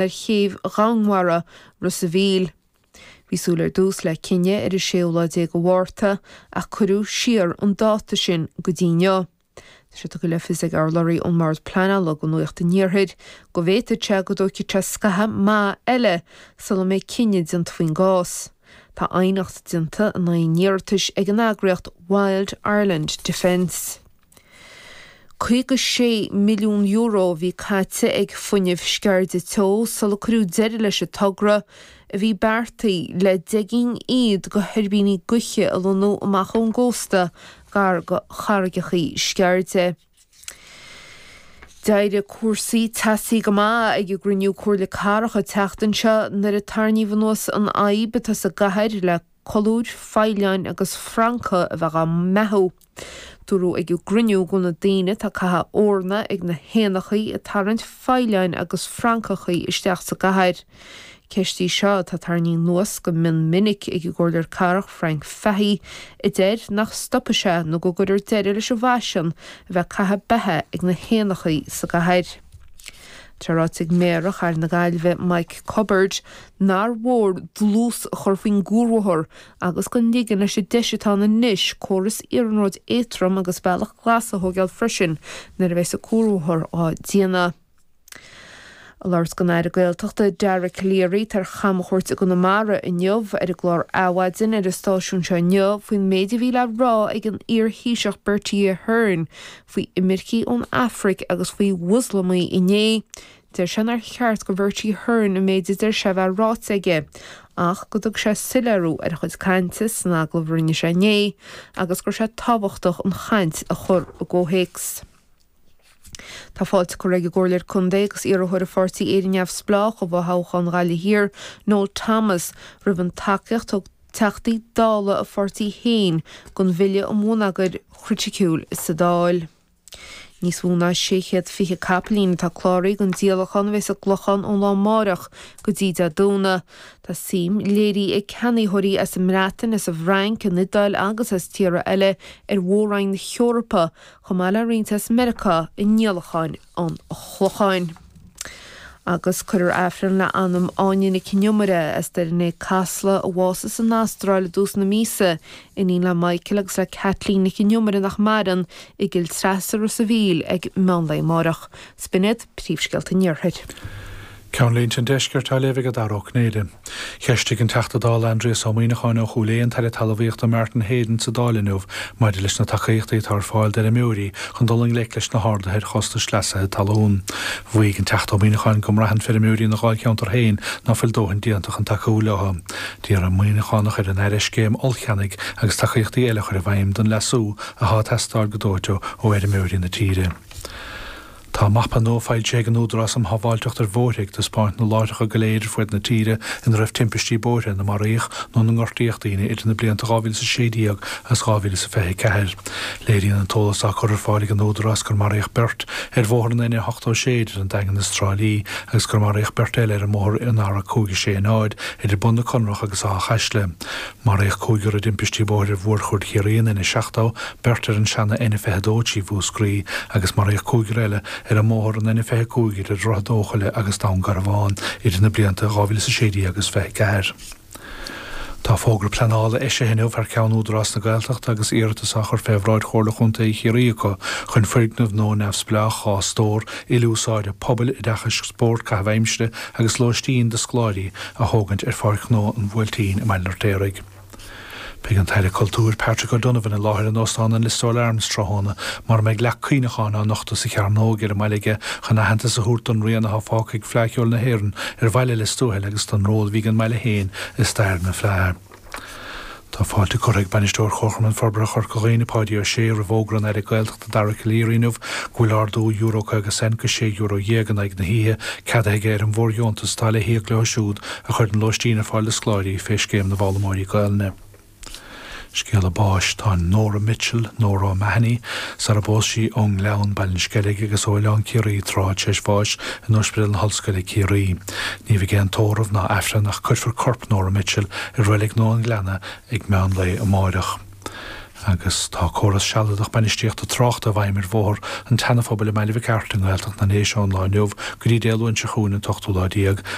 Ar chéibh Dhomhanmhara Ros a' Mhíl. Bhí súil ar dtús le cinneadh ar an séú lá déag de Mhárta ach cuireadh siar an dáta sin go dtí inniu. Tá sé tugtha le fios ag urlabhraí ón mBord Pleanála do Nuacht an Iarthair go bhféadfadh sé go dtógfaidh sé scaitheamh maith eile sula mbeidh cinneadh déanta faoin gcás. Tá aighneacht déanta in aghaidh an iarratais ag an eagraíocht Wild Ireland Defence. €56 milliún a bhí caite ag Fuinneamh Sceirde Teo sula cuireadh deireadh leis an togra a bhí beartaithe le 10 gcinn fhichead de thuirbíní gaoithe a lonnú amach ón gcósta gar do Charraigeachaí Sceirde. D'éirigh cúrsaí teasaí go maith ag an gcruinniú Comhairle Cathrach an tseachtain seo nuair a tarraingíodh anuas an fhadhb atá sa gcathair le colúir, faoileáin agus francaigh a bheith á mbeathú. Dúradh ag an gcruinniú go bhfuil na daoine atá ag caitheamh eorna ag na héanachaí ag tarraingt faoileáin agus francachaí isteach sa gcathair. Ceist í seo atá tarraingthe anuas go mion minic ag an gComhairleoir Cathrach Frank Fahey a deir nach stopfaidh sé nó go gcuirfear deireadh leis an bhfaisean a bheith ag caitheamh beatha ag na héanachaí sa gcathair. Tá ráite ag Méara Chathair na Gaillimhe Mike Cubbard nár mhór dlús a chur faoin gcuarbhóthar agus gan ligean leis an deis atá ann anois córas iarnróid éadtrom agus bealach glas a thóigeáil freisin nuair a bheas an cuarbhóthar á déanamh. Ag labhairt don Aire Gaeltachta Dara Calleary atá ar chamchuairt i gConamara inniu ar an gclár Adhmhaidin ar an stáisiún seo inniu faoin méid a bhí le rá ag an iar-Thaoiseach Bertie Ahern faoi imircigh ón Afraic agus faoi Mhoslamaigh inné, Deir sé nár cheart do Bhertie Ahern an méid a deir sé a bheith ráite aige ach go dtug sé soiléiriú ar a chuid cainte san agallamh a rinne sé inné agus go raibh sé tábhachtach an chaint a chur i gcomhthéacs. Tá fáilte curtha ag an gComhairleoir Contae agus iarrthóir an pháirtí Éire Neamhspleách i bhfothoghchán Ghaillimh Thiar, Noel Thomas, roimh an tacaíocht a thug Teachtaí Dála a pháirtí féin don Bhille um Bhonneagar Chriticiúil sa Dáil. Níos mó ná 620 capaillín atá cláraithe don díolachán a bheas i gClochán ón lá amáireach go dtí Dé Domhnaigh. Tá suim léirithe ag ceannaitheoirí as an mBreatain, as an bhFrainc, an Iodáil agus as tíortha eile ar mhór-roinn na hEorpa, chomh maith le roinnt as Meiriceá i ndíolacháin an Chlocháin. Agus cuirfear Aifreann le anam Áine Nic an Iomaire as Doire an Fhéich Casla a bhásaigh san Astráil i dtús na míosa, iníon le Michael agus le Kathleen Nic an Iomaire nach maireann, i gCill Treasa, Ros a' Mhíl ag meán lae amárach. 'S b'in iad príomhscéalta an Iarthair. Ceannlínte an Deiscirt á léamh ag Dara Ó Cinnéide. Cheistigh an Teachta Dála Aindrias Ó Muimhneacháin ó Chúil Aodha an tAire Talmhaíochta Martin Heydon sa Dáil inniu maidir leis na tacaíochtaí atá ar fáil d'fheirmeoirí chun dul i ngleic leis na harduithe ar chostais leasaithe talún. Mhaígh an Teachta Ó Muimhneacháin go mbraitheann feirmeoirí ina dháilcheantar féin ná fuil dóthain déanta chun tacú leo. D'iarr an Muimhneachánach ar an Aire scéim ollcheannaigh agus tacaíochtaí eile a chur i bhfeidhm don leasú atá ag teastáil go dóite ó fheirmeoirí na tíre. Tá mapa nua foilsithe ag an Údarás um Shábháilteacht ar Bhóithre ag taispeáint na láithreacha go léir ar fuaid na tíre ina raibh timpistí bóithre ina maraíodh nó ina ngortaíodh daoine idir na blianta 2016 agus 2024. Léiríonn an t-eolas atá curtha ar fáil ag an Údarás gur maraíodh beirt ar bhóthar an N86 idir an Daingean is Trá Lí agus gur maraíodh beirt eile ar an mbóthar an R560 idir Bun na Conrach agus Áth Chaisle. Maraíodh cúigear i dtimpistí bóthair ar Mhórchuaird Chiarraí, an N70, beirt ar an seana N22 trí Mhúscraí agus maraíodh cúigear eile ar an mbóthar an N25 idir Droichead Eochaille agus Dún Garbhán idir na blianta 2016 agus 24. Tá fógra pleanála eisithe inniu thar ceann Údarás na Gaeltachta agus iarratas á chur fé bhráid Chomhairle Chontae Chiarraí acu chun foirgneamh nua neamhspleách, 2 stór, ilúsáide, pobail, oideachais, spóirt, caitheamh aimsire agus lóistín do scoláirí a thógaint ar Pháirc Ghnó an Bhuailtín i mBaile an Fheirtéaraigh. Beidh an tAire Cultúir Patrick O'Donovan i láthair in Óstán an Listowel Arms tráthnóna mar a mbeidh leac cuimhneacháin á nochtadh sa Chearnóg ar an mbaile aige chun aitheantas a thabhairt don rian atá fágtha ag Fleadh Cheoil na hÉireann ar bhaile Lios Tuathail agus don ról a bhí ag an mbaile féin i stair na Fleadh. Tá fáilte curtha ag Bainisteoir Chomharchumann Forbartha Chorca Dhuibhne, Páidí Ó Sé, roimh fhógra an Aire Gaeltachta Dara Calleary inniu go bhfuil ardú euro 50 cent go €16 in aghaidh na hoíche ceadaithe aige ar an bhfóirdheontas atá le híoc leo siúd a chuireann lóistín ar fáil do scoláirí fé Scéim na bhFoghlaimeoirí Gaelainne. Scéala báis, Tá Nora Mitchell, Nora O'Mahony, sar a bpós sí ón nGleann, Baile an Sceilg agus ó Oileán Ciarraí tráth tar éis bháis in Ospidéal na hOllscoile, Ciarraí. Ní bheidh aon tórramh ná Aifreann ach cuirfear corp Nora Mitchell i Reilig Nua an Ghleanna ag meán lae amáireach. Agus tá córas sealadach bainistíochta tráchta i bhfeidhm ar Bhóthar an tSeana-Phobail i mBaile Mhic Airt i nGaeltacht na nDéise ón lá inniu go dtí Dé Luain seo chugainn an t-ochtú lá déag.